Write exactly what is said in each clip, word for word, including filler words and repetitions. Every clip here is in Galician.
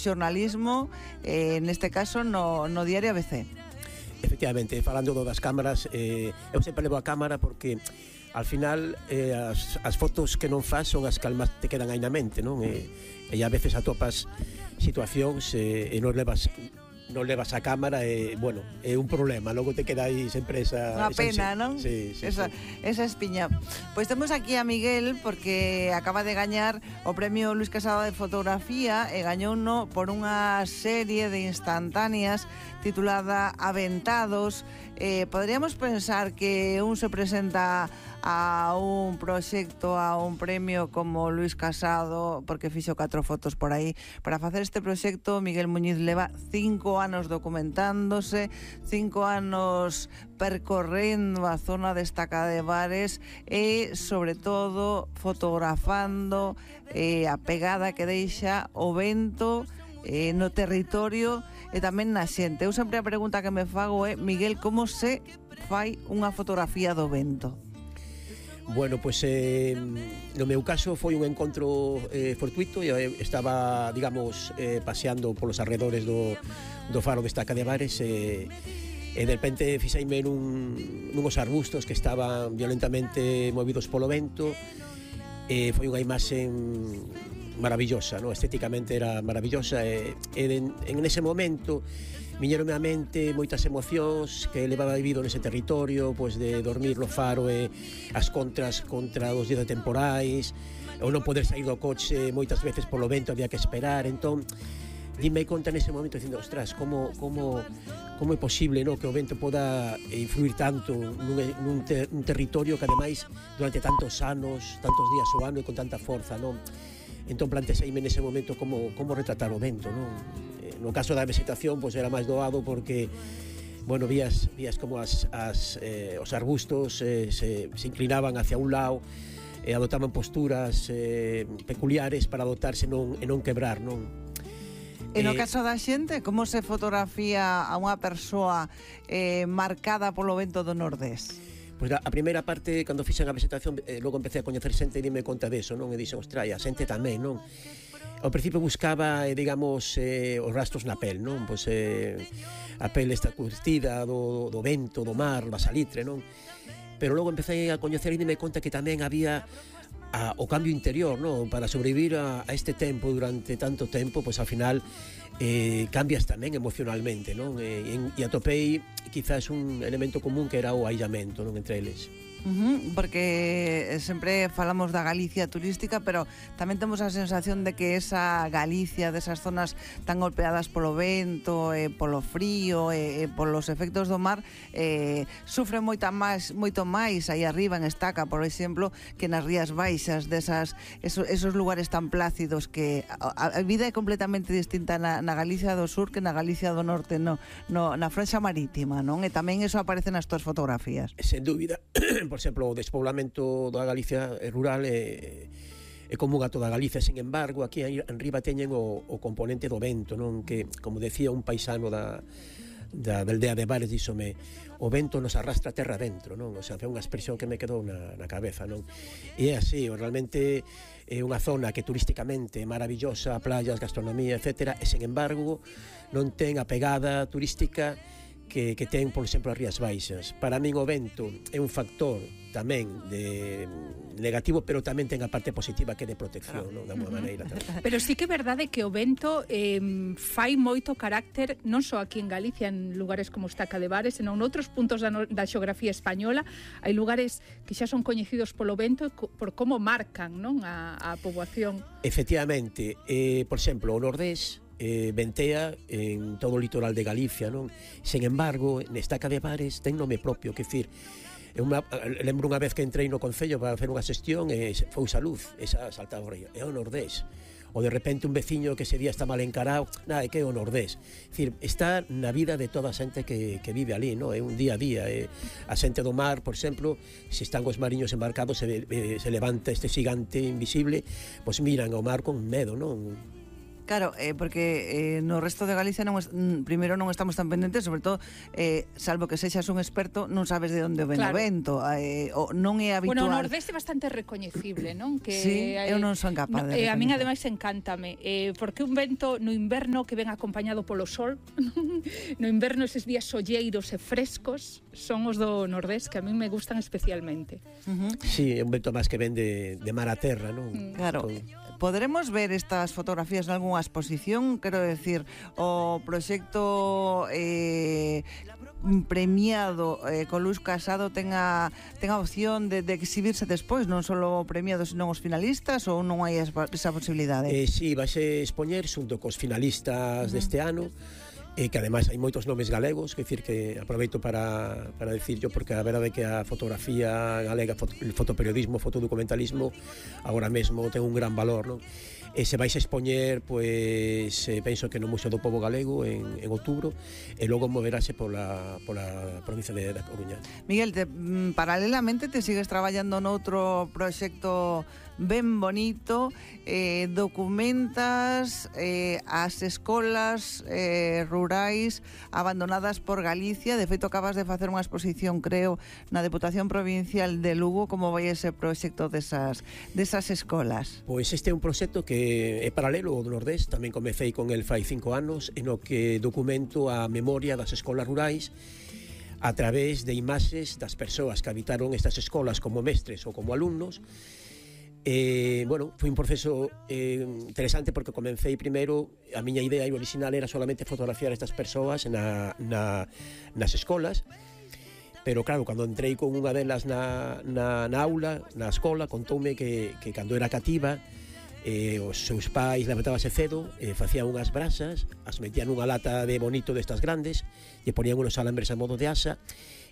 xornalismo, eh, neste caso no, no diario A B C. Efectivamente, falando do das cámaras, eh, eu sempre levo a cámara porque al final eh, as, as fotos que non faz son as que almas te quedan aí na mente, non? E, e a veces atopas situacións e, e non levas non levas a cámara e, bueno, é un problema, logo te queda aí sempre esa... Unha pena, esa, non? Sí, sí, esa, sí. esa espiña. Pois temos aquí a Miguel porque acaba de gañar o premio Luis Casado de fotografía e gañouno por unha serie de instantáneas titulada Aventados. Eh, podríamos pensar que un se presenta a un proxecto, a un premio como Luis Casado, porque fixo catro fotos por aí. Para facer este proxecto, Miguel Muñiz leva cinco anos documentándose, cinco anos percorrendo a zona destacada de Bares e, sobre todo, fotografando eh, a pegada que deixa o vento eh, no territorio e tamén na xente. Eu sempre a pregunta que me fago é, Miguel, como se fai unha fotografía do vento? Bueno, pois eh, no meu caso foi un encontro eh, fortuito. Eu estaba, digamos, eh, paseando polos arredores do, do faro desta de Bares e, e de repente fixeime nun, nuns arbustos que estaban violentamente movidos polo vento e foi unha imaxe maravillosa, no? Estéticamente era maravillosa e, e en, en ese momento viñeronme á mente moitas emocións que levaba vivido nese territorio, pois de dormir no faro e as contras contra os días temporais, ou non poder sair do coche moitas veces polo vento, había que esperar. Entón, dime conta nese momento dicindo, ostras, como, como, como é posible, no, que o vento poda influir tanto nun, nun, ter, un territorio que ademais durante tantos anos, tantos días o ano e con tanta forza, non? Entón planteseime nese momento como, como retratar o vento, non? No caso da vegetación, pois era máis doado porque, bueno, vías, vías como as, as, eh, os arbustos eh, se, se inclinaban hacia un lado e adotaban posturas eh, peculiares para adotarse non, e non quebrar, non? E no caso da xente, como se fotografía a unha persoa eh, marcada polo vento do Nordés? Pois a primeira parte, cando fixen a vegetación, eh, logo empecé a coñecer xente e dime conta deso, non? E dixen, ostras, a xente tamén, non? Ao principio buscaba, eh, digamos, eh, os rastros na pel, non? Pois eh, a pel esta curtida do, do vento, do mar, da salitre, non? Pero logo empecé a coñecer e dime conta que tamén había a, o cambio interior, non? Para sobrevivir a, a este tempo durante tanto tempo, pois ao final eh, cambias tamén emocionalmente, non? E, e atopei quizás un elemento común que era o aillamento, non? Entre eles. Uh-huh, porque sempre falamos da Galicia turística, pero tamén temos a sensación de que esa Galicia desas zonas tan golpeadas polo vento, e polo frío e, e polos efectos do mar eh, sufre moita máis, moito máis aí arriba en Estaca, por exemplo, que nas Rías Baixas, desas, esos, esos lugares tan plácidos que a, a vida é completamente distinta na, na Galicia do Sur que na Galicia do Norte, no, no, na franxa marítima, non? E tamén eso aparece nas túas fotografías. Sen dúbida. Por exemplo, o despoblamento da Galicia rural é, é común a toda Galicia. Sin embargo, aquí en riba teñen o, o componente do vento, non? Que, como decía un paisano da, da, da aldea de Bares, díxome, o vento nos arrastra terra dentro, non? O sea, foi unha expresión que me quedou na, na cabeza, non? E é así, realmente é unha zona que turísticamente é maravillosa, playas, gastronomía, etcétera, e, sin embargo, non ten a pegada turística que, que ten, por exemplo, as Rías Baixas. Para min o vento é un factor tamén de negativo, pero tamén ten a parte positiva que é de protección, non? Da unha maneira tamén. Pero sí que é verdade que o vento eh, fai moito carácter, non só aquí en Galicia, en lugares como Estaca de Bares, senón noutros puntos da, no, da xeografía española. Hai lugares que xa son coñecidos polo vento por como marcan, non, a, a poboación. Efectivamente, eh, por exemplo, o Nordés eh, ventea en todo o litoral de Galicia, non? Sen embargo, en Estaca de Bares ten nome propio, que decir, Uma, lembro unha vez que entrei no Concello para facer unha xestión e foi Saluz, esa saltaba o río, é o Nordés. Ou de repente un veciño que ese día está mal encarado, nada, é que é o Nordés. É dicir, está na vida de toda a xente que, que vive ali, no? É un día a día. É, a xente do mar, por exemplo, se están os mariños embarcados, se, se levanta este xigante invisible, pois miran ao mar con medo, non? Claro, eh, porque eh, no resto de Galicia non es, mm, primeiro non estamos tan pendentes, sobre todo, eh, salvo que sexas un experto, non sabes de onde ven Claro. o vento, eh, o non é habitual. Bueno, o Nordeste é bastante recoñecible, non? Que Sí, eu non son capaz no, de eh, A min recoñecer. ademais encántame, eh, porque un vento no inverno que ven acompañado polo sol, no inverno eses días solleiros e frescos son os do Nordeste que a min me gustan especialmente. Uh-huh. Sí, é un vento máis que ven de, de mar a terra, non? Claro. Con... Poderemos ver estas fotografías en algunha exposición? Quero decir, o proxecto eh, premiado eh, con Luis Casado tenga, tenga opción de, de exhibirse despois, non só o premiado, senón os finalistas, ou non hai esa, esa posibilidade? Eh, sí, vais a expoñer xunto cos finalistas uh-huh. deste ano, e que ademais hai moitos nomes galegos, que decir que aproveito para, para decirlo, porque a verdade é que a fotografía galega, foto, el fotoperiodismo, fotodocumentalismo agora mesmo ten un gran valor, non? E se vais a expoñer, pois eh, penso que no Museo do Pobo Galego en, en outubro, e logo moverase pola, pola provincia de, da Coruña. Miguel, te, mm, paralelamente te sigues traballando noutro proxecto ben bonito, eh, documentas eh, as escolas eh, rurais abandonadas por Galicia. De feito, acabas de facer unha exposición, creo, na Deputación Provincial de Lugo. Como vai ese proxecto desas, desas escolas? Pois este é un proxecto que é paralelo ao do Nordeste. Tamén comecei con el fai cinco anos, en o que documento a memoria das escolas rurais a través de imaxes das persoas que habitaron estas escolas como mestres ou como alumnos. Eh, bueno, foi un proceso eh, interesante porque comecei primeiro, a miña idea original era solamente fotografiar estas persoas na, na, nas escolas, pero claro, cando entrei con unha delas na, na, na aula, na escola, contoume que, que cando era cativa, eh, os seus pais levantábase cedo, eh, facían unhas brasas, as metían nunha lata de bonito destas grandes, e ponían unos alambres a modo de asa,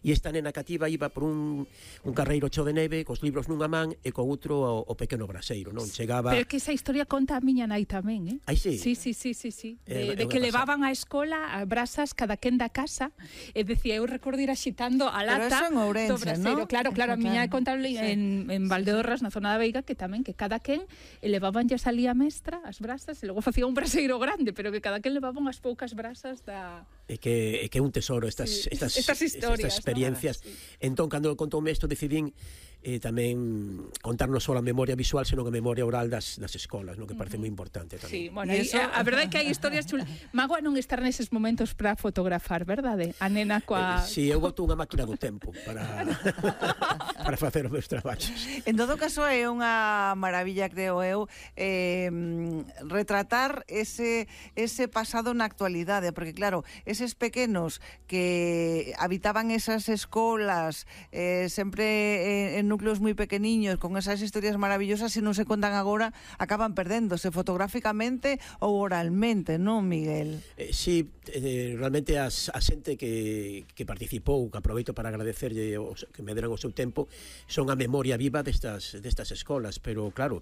e esta nena cativa iba por un, un carreiro cheo de neve, cos libros nunha man e co outro o, o pequeno braseiro, non? Chegaba... Pero que esa historia conta a miña nai tamén, eh? Ai, sí? Sí, sí, sí, sí, sí. Eh, De, de que levaban á escola a brasas cada quen da casa, e decía, eu recordo ir axitando a lata. Pero eso en Ourense, do braseiro. ¿no? Claro, claro, a Eso, miña claro. contable Sí. en, en Valdeorras, na zona da Veiga, que tamén, que cada quen levaban ya salía mestra as brasas, e logo facía un braseiro grande, pero que cada quen levaba unhas poucas brasas da... É que, é que é un tesoro estas, Sí, estas, estas historias, estas experiencias, ¿no? Sí. Entón, cando contoume isto, decidín eh, tamén contar non só a memoria visual, senón a memoria oral das, das escolas, no que parece moi importante tamén. Sí, bueno, E aí, eso- a, a verdade é que hai historias chulas. Magoa non estar neses momentos para fotografar, verdade? A nena coa... Eh, si, eu boto unha máquina do tempo para, para facer os meus traballos. En todo caso, é unha maravilla, creo eu, eh, retratar ese, ese pasado na actualidade, porque claro, eses pequenos que habitaban esas escolas eh, sempre en núcleos moi pequeniños, con esas historias maravillosas, se non se contan agora, acaban perdéndose fotográficamente ou oralmente, non, Miguel? Eh, sí, eh, realmente as, a xente que, que participou, que aproveito para agradecerlle os, que me deran o seu tempo, son a memoria viva destas, destas escolas, pero claro,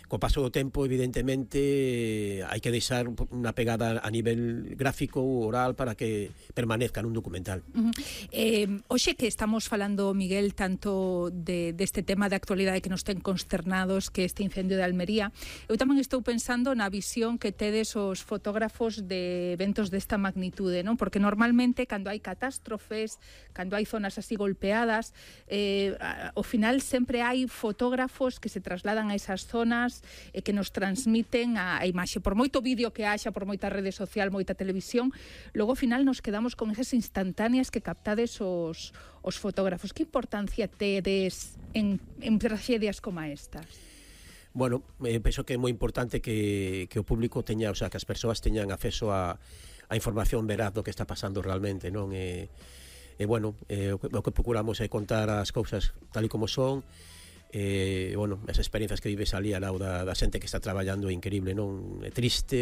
co paso do tempo, evidentemente, hai que deixar unha pegada a nivel gráfico ou oral para que permanezca nun documental. Uh -huh. eh, Oxe, que estamos falando, Miguel, tanto de, deste tema de actualidade que nos ten consternados, que este incendio de Almería, eu tamén estou pensando na visión que tedes os fotógrafos de eventos desta magnitude, non? Porque normalmente, cando hai catástrofes, cando hai zonas así golpeadas, eh, ao final sempre hai fotógrafos que se trasladan a esas zonas e que nos transmiten a, a imaxe. Por moito vídeo que haxa, por moita rede social, moita televisión, logo ao final nos quedamos con esas instantáneas que captades os, os fotógrafos. Que importancia tedes en, en tragedias como estas? Bueno, eh, penso que é moi importante que, que o público teña, o sea, que as persoas teñan acceso a, a información veraz do que está pasando realmente, non? E, e bueno, eh, o, que, o que procuramos é contar as cousas tal e como son. Eh, bueno, as experiencias que vives ali ao lado da, da xente que está traballando é increíble, non? É triste,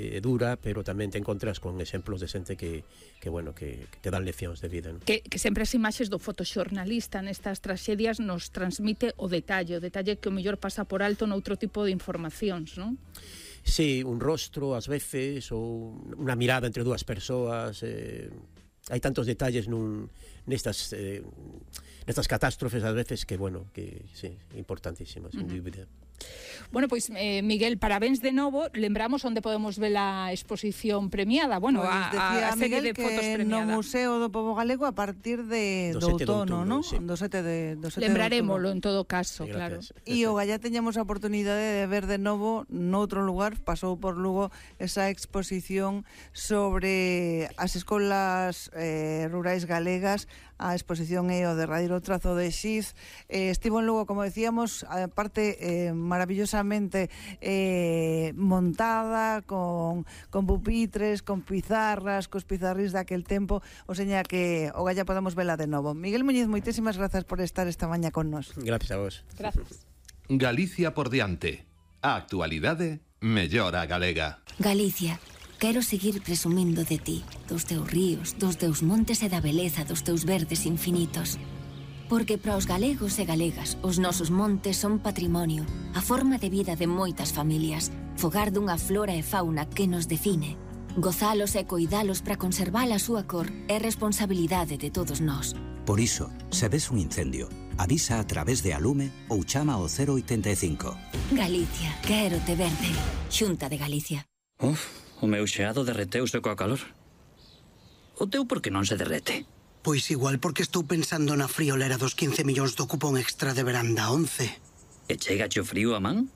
é dura, pero tamén te encontras con exemplos de xente que, que bueno, que, que te dan leccións de vida, non? Que, que sempre as imaxes do fotoxornalista nestas tragedias nos transmite o detalle, o detalle que o mellor pasa por alto noutro tipo de informacións, non? Sí, un rostro ás veces, ou unha mirada entre dúas persoas, eh, hai tantos detalles nun, nestas eh, nestas catástrofes ás veces que, bueno, que sí, importantísimas, sin dúbida. Bueno, pois, eh, Miguel, parabéns de novo. Lembramos onde podemos ver a exposición premiada. Bueno, Pois a, decía a, a serie Miguel de fotos que premiada. no Museo do Pobo Galego a partir de Do do sete de outono, outubro, non? sí. Do sete de do sete de Lembrarémolo outubro. en todo caso, Sí, claro. gracias. E o Gallá teñamos a oportunidade de ver de novo noutro lugar, pasou por Lugo esa exposición sobre as escolas eh, rurais galegas. A exposición é o derradeiro trazo de Xiz. Eh, estivo en Lugo, como decíamos, a parte eh, maravillosamente eh, montada, con, con pupitres, con pizarras, cos pizarris daquel tempo, o seña que o Gallá podamos vela de novo. Miguel Muñiz, moitísimas grazas por estar esta mañá con nós. Gracias a vos. Gracias. Galicia por diante. A actualidade mellora galega. Galicia, quero seguir presumindo de ti, dos teus ríos, dos teus montes e da beleza dos teus verdes infinitos. Porque para os galegos e galegas, os nosos montes son patrimonio, a forma de vida de moitas familias, fogar dunha flora e fauna que nos define. Gozalos e coidalos para conservar a súa cor é responsabilidade de todos nós. Por iso, se ves un incendio, avisa a través de Alume ou chama ao cero oitenta e cinco. Galicia, quero te verde. Xunta de Galicia. Uf, o meu xeado derreteuse coa calor. O teu por que non se derrete? Pois igual porque estou pensando na friolera dos quince millóns do cupón extra de verán da once. E chega o frío a man?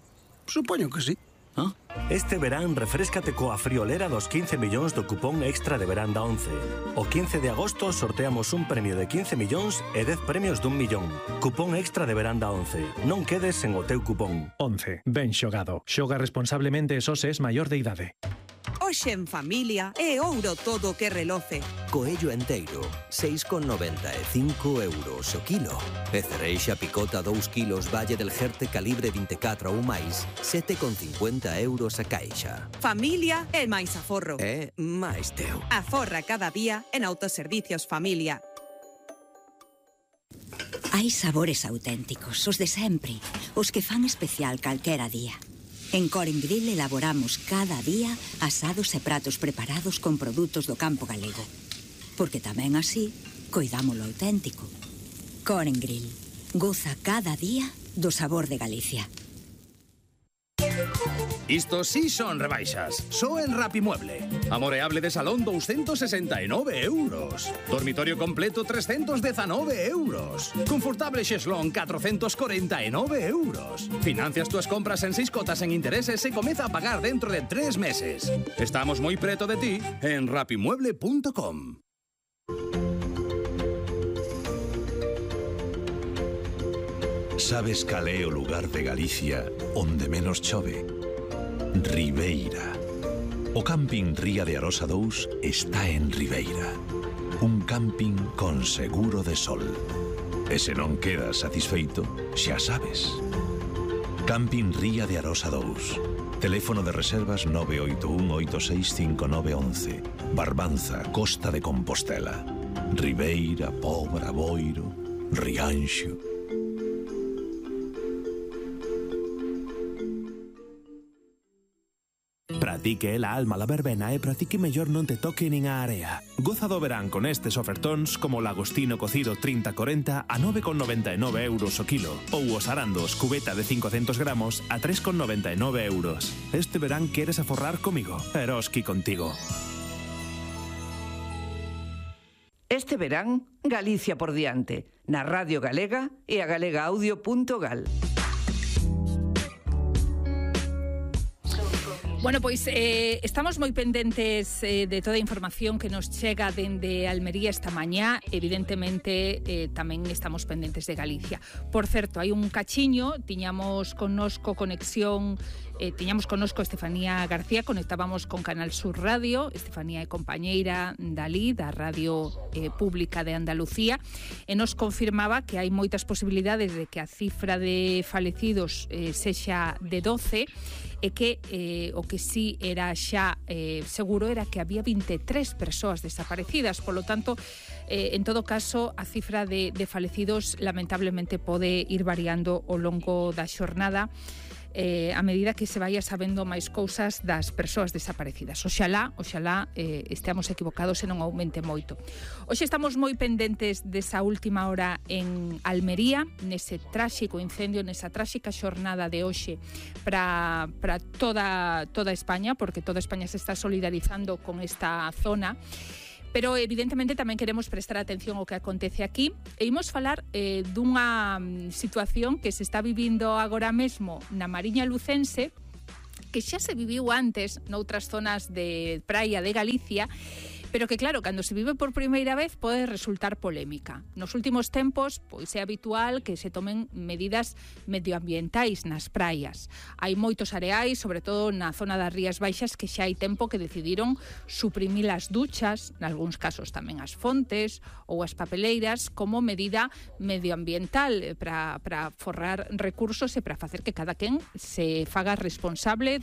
Supoño que sí. Ah? Este verán refréscate coa friolera dos quince millóns do cupón extra de verán da once. O quince de agosto sorteamos un premio de quince millóns e dez premios dun millón. Cupón extra de verán da once. Non quedes sen o teu cupón. once. Ben xogado. Xoga responsablemente e só se es maior de idade. Hoxe en familia é ouro todo o que reloce. Coello enteiro, seis con noventa e cinco euros o kilo. E cereixa picota dous kilos Valle del Jerte calibre vinte e catro ou máis, sete con cincuenta euros a caixa. Familia é máis aforro. É máis teu. Aforra cada día en Autoservicios Familia. Hai sabores auténticos, os de sempre, os que fan especial calquera día. En Coren Grill elaboramos cada día asados e pratos preparados con produtos do campo galego. Porque tamén así, coidamos lo auténtico. Coren Grill, goza cada día do sabor de Galicia. Isto sí son rebaixas. Só en Rapimueble. Amoreable de salón doscientos sesenta e nove euros. Dormitorio completo trescientos diecinueve euros. Confortable xeslón catrocentos cuarenta e nove euros. Financias túas compras en seis cotas en intereses e comeza a pagar dentro de tres meses. Estamos moi preto de ti en rapimueble punto com. Sabes cal é o lugar de Galicia onde menos chove? Ribeira. O camping Ría de Arosa dous está en Ribeira. Un camping con seguro de sol. E se non quedas satisfeito, xa sabes. Camping Ría de Arosa dous. Teléfono de reservas nove oito un oito seis cinco nove once. Barbanza, Costa de Compostela. Ribeira, Pobra, Boiro, Rianxo. Pratique la alma la verbena e pratique mellor non te toque nin a area. Goza do verán con estes ofertóns como o lagostino cocido trinta corenta a nove con noventa e nove euros o kilo ou os arandos cubeta de cincocentos gramos a tres con noventa e nove euros. Este verán queres aforrar comigo? Eroski contigo. Este verán, Galicia por diante, na Radio Galega e a galega audio punto gal. Bueno, pois eh, estamos moi pendentes eh, de toda a información que nos chega dende Almería esta mañá. Evidentemente, eh, tamén estamos pendentes de Galicia. Por certo, hai un cachiño, tiñamos connosco conexión, eh, tiñamos connosco Estefanía García, conectábamos con Canal Sur Radio. Estefanía é compañeira dalí, da Radio eh, Pública de Andalucía, e nos confirmaba que hai moitas posibilidades de que a cifra de falecidos eh, sexa de doce, e que eh, o que sí era xa eh, seguro era que había vinte e tres persoas desaparecidas. Por lo tanto, eh, en todo caso, a cifra de, de falecidos lamentablemente pode ir variando ao longo da xornada. eh, a medida que se vaya sabendo máis cousas das persoas desaparecidas. Oxalá, oxalá eh, esteamos equivocados e non aumente moito. Hoxe estamos moi pendentes desa última hora en Almería, nese tráxico incendio, nesa tráxica xornada de hoxe para para toda toda España, porque toda España se está solidarizando con esta zona. Pero evidentemente tamén queremos prestar atención ao que acontece aquí e imos falar eh, dunha situación que se está vivindo agora mesmo na Mariña Lucense, que xa se viviu antes noutras zonas de praia de Galicia, pero que claro, cando se vive por primeira vez pode resultar polémica. Nos últimos tempos, pois é habitual que se tomen medidas medioambientais nas praias. Hai moitos areais, sobre todo na zona das Rías Baixas, que xa hai tempo que decidiron suprimir as duchas, nalgúns casos tamén as fontes ou as papeleiras, como medida medioambiental para para forrar recursos e para facer que cada quen se faga responsable dos